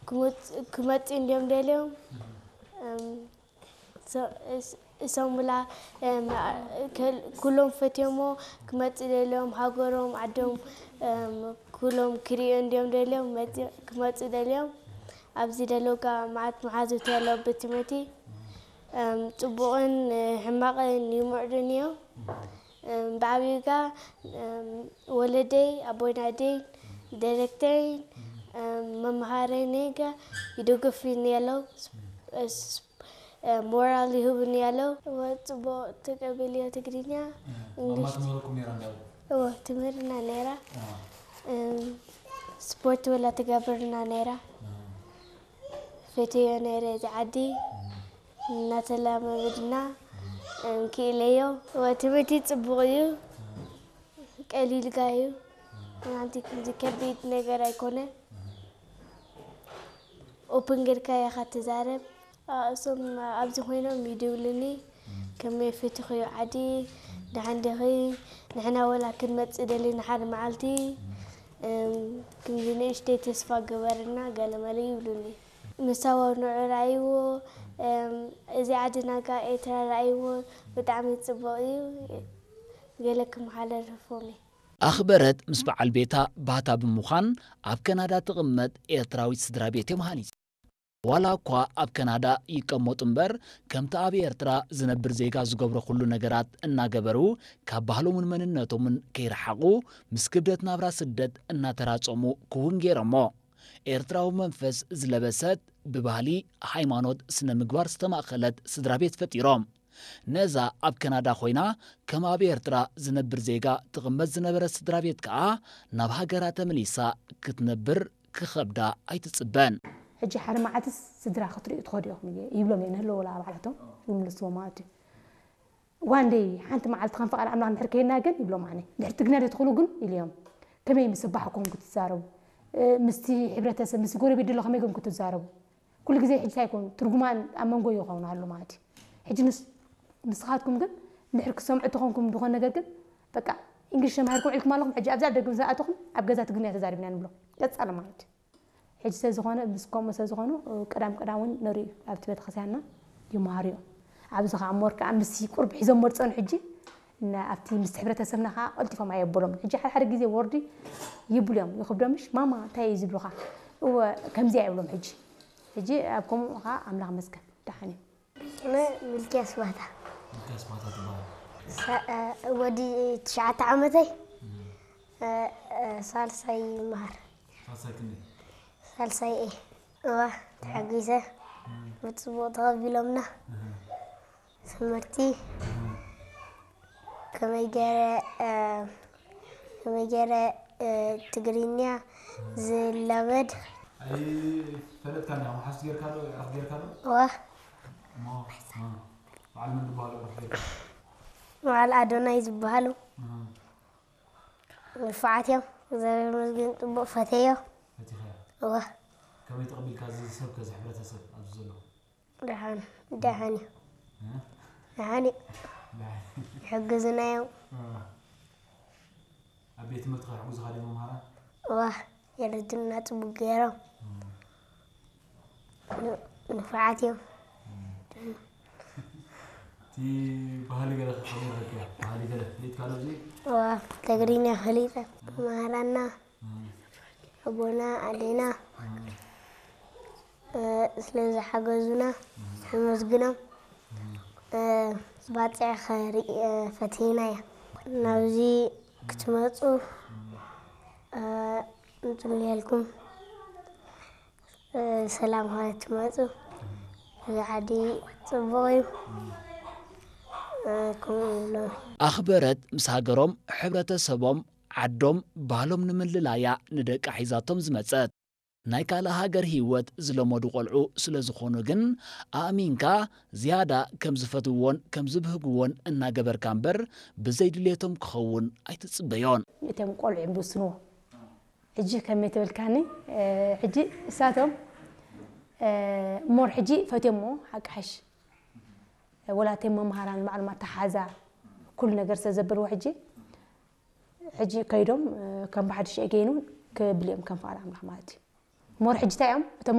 ክመጽ- ክመጽእ እንዲዮም ደልዮም እም፣ ሶ- እስ- እሶም ብላ እም፣ አ- ከል- ኩሎም ፈትዮሞ ክመጽእ ደልዮም ሃገሮም ዓዶም እም፣ ኩሎም ክርእዮ እንዲዮም ደልዮም መጽ- ክመጽእ ደልዮም ኣብዚ ደለውካ መዓት መሓዙት ያለው ቤት ትምህርቲ እም፣ ጽቡቕን ሕማቕን ይምዕዱን እዮም። እም፣ ብዓብዩጋ እም፣ ወለደይ ኣቦይናደይ ዳይሬክተረይን እም፣ መምሃረይነይጋ ይደግፉኒ ያለው ሞራል ይህቡኒ ያለው። እወ ጽቡቕ ተቀበልዮ ትግርኛ ማማ እንግሊሽ ትምህረኩም ነይራ እንዳሉ እወ ትምህርና ነይራ። እም፣ ስፖርት ወላ ትገብርና ነይራ። ፈትዮ ነይረ እዚ ዓዲ እናተላመድና እንክእለዮ። እወ ትምህርቲ ጽቡቕ እዩ። ቀሊልካ እዩ። ሓንቲ ከምዚ ከቢድ ነገር ኣይኮነ። ኦፕን ጌርካ ኢኻ ትዛረብ። እሶም ኣብዚ ኮይኖም ይድውልኒ ከመይ ፈቲኽዮ ዓዲ ደሓን ዲኺ ንሕና ወላ ክንመጽእ ደሊና ሓደ መዓልቲ እም፣ ክንዲ ንእሽተይ ተስፋ ግበርና ገለመለ ይብሉኒ። ምሳቦ ንዑ ረኣይዎ እም፣ እዚ ዓዲ ናጋ ኤርትራ ረኣይዎ ብጣዕሚ ጽቡቕ እዩ። ገለ ክመሓላልፎም እየ። ኣኽበረት ምስ በዓል ቤታ ባህታ ብምዃን ኣብ ከናዳ ትቕመጥ ኤርትራዊት ስድራ ቤት እዮም ሃኒጾም። ዋላ እኳ ኣብ ከናዳ ይቀመጡ እምበር ከምቲ ኣብ ኤርትራ ዝነብር ዜጋ ዝገብሮ ኩሉ ነገራት እናገበሩ ካብ ባህሎምን መንነቶምን ከይረሓቑ ምስ ክብደት ናብራ ስደት እናተራጸሙ ክውን ገይሮሞ። ኤርትራዊ መንፈስ ዝለበሰት ብባህሊ፣ ሃይማኖት፣ ስነ ምግባር ዝተማእኸለት ስድራ ቤት ፈጢሮም። ነዛ ኣብ ከናዳ ኮይና ከም ኣብ ኤርትራ ዝነብር ዜጋ ትቕመጥ ዝነበረት ስድራ ቤት ከኣ ናብ ሃገራ ተመሊሳ ክትነብር ክኸብዳ ኣይትጽበን። ሕጂ ሓደ መዓልትስ ስድራ ክትርእዩ ትኸዱ ኢኹም እየ ይብሎም እየ ንህለወላ ባዕላቶም ይምልስዎ ማለት እዩ። ዋን ደይ ሓንቲ መዓልቲ ከም ፈቓድ ኣምላኽ እንድሕር ከይድና ግን ይብሎም ኣነ። እንድሕር ትግና ዘይትኽእሉ ግን ኢልዮም ከመይ ምስ ኣባሕኩም ክትዛረቡ ምስቲ ሕብረተሰብ ምስቲ ጎረቤት ድሎ ከመይ ገም ክትዛረቡ ኩሉ ግዜ ሕጂ እንታይ ይኮን ትርጉማን ኣብ መንጎ ይኸውን ኣሎ ማለት እዩ። ሕጂ ንስ ንስኻትኩም ግን እንድሕር ክሰምዑ ተኾንኩም ዝኾነ ነገር ግን በቃ እንግሊሽ ተማሂርኩም ዒልኩም ኣለኹም ሕጂ ኣብዛ ደገ ምስ ኣተኹም ኣብ ገዛ ትግርኛ ተዛሪብና ንብሎ ቀጻሊ ማለት እዩ። ሕጂ ስለ ዝኾነ ምስ ከምኡ ስለ ዝኾኑ ቀዳም ቀዳም እውን ንርኢ ኣብቲ ቤተክርስትያንና ይመሃሩ እዮም። ኣብዚ ከዓ ሞር ከዓ ምስ ቁርብ ሒዞም መርፀኑ ሕጂ እና ኣብቲ ምስ ሕብረተሰብና ከዓ ቀልጢፎም ኣየበሎም ሕጂ ሓደ ሓደ ግዜ ወርዲ ይብሉ እዮም ይኽብዶምሽ ማማ እንታይ እዩ ዝብሉኻ እወ ከምዚ ኣይብሎም ሕጂ ሕጂ ኣብ ከምኡ ከዓ ኣምላኽ መስገን ደሓን እዮም። ስመ ሚልክያስ ባህታ። ሚልክያስ ባህታ ትበሃል። ወዲ ትሽዓተ ዓመተይ ሳልሳይ ይመሃር። ሳልሳይ ክንደይ? ሳልሳይ እየ። እዋ ተሓጒሰ ብፅቡቕ ተቐቢሎምና። ትምህርቲ ከመይ ገይረ ከመይ ገይረ ትግርኛ ዝላመድ ኣይፈለጥካን ኢኻ መሓዙት ጌርካ ዶ ዕረፍቲ ጌርካ ዶ እዋ እሞ በዓል መን ዝበሃሉ ዕረፍቲ ጌርካ በዓል ኣዶናይ ዝበሃሉ ንፉዓት እዮም እግዚኣብሔር ይመስገን ፅቡቕ ፈተዮ ፈቲኻዮ እዋ ከመይ ተቐቢልካ እዚ ሰብ ከዚ ሕብረተሰብ ኣብዚ ዘሎ ደሓን ደሓን እዩ ደሓን እዩ ይሕግዝና እዮም ኣብ ቤት ትምህርቲ ከሕጉዝኻ ድዮም መምሃራን እዋ የረድኡና ፅቡቅ ገይሮም ንፉዓት እዮም እቲ ባህሊ ገለ ከመይ ረኪያ ባህሊ ገለ ፍሊጥካ ዶ እዚ እዋ ትግርኛ ፈሊጠ መሃራና ኣቦና ኣዴና ስለ ዝሓገዙና ነመስግኖም። ባጽዕ ኸርኢ ፈቲና እያ። ናብዚ ክትመጹ ንጽልየልኩም። ሰላም ኸትመጹ። እዚ ዓዲ ጽቡቕ እዩ። ከምኡ ይብሎም። ኣኽበረት ምስ ሃገሮም፣ ሕብረተሰቦም፣ ዓዶም፣ ባህሎም ንምልላያ ንደቃ ሒዛቶም ዝመጸት። ናይ ካልእ ሃገር ህይወት ዝለመዱ ቆልዑ ስለ ዝኾኑ ግን ኣእሚንካ ዝያዳ ከም ዝፈትውዎን ከም ዝብህግዎን እናገበርካ እምበር ብዘይ ድልየቶም ክኸውን ኣይትጽበዮን። እቶም ቆልዑ እዮም ዝውስንዎ። ሕጂ ከመይ ተበልካኒ ሕጂ እሳቶም ሞር ሕጂ ፈትዮሞ ሓቂ ሓሽ ወላተይ መምሃራን ባዕሎም ኣተሓዛ ኩሉ ነገር ስለ ዘበልዎ ሕጂ ሕጂ ከይዶም ከም ብሓድሽ ኤገይኑ ክብል እዮም ከም ፍቓድ ኣምላኽ ማለት እዩ። ሞር ሕጂ እንታይ እዮም እቶም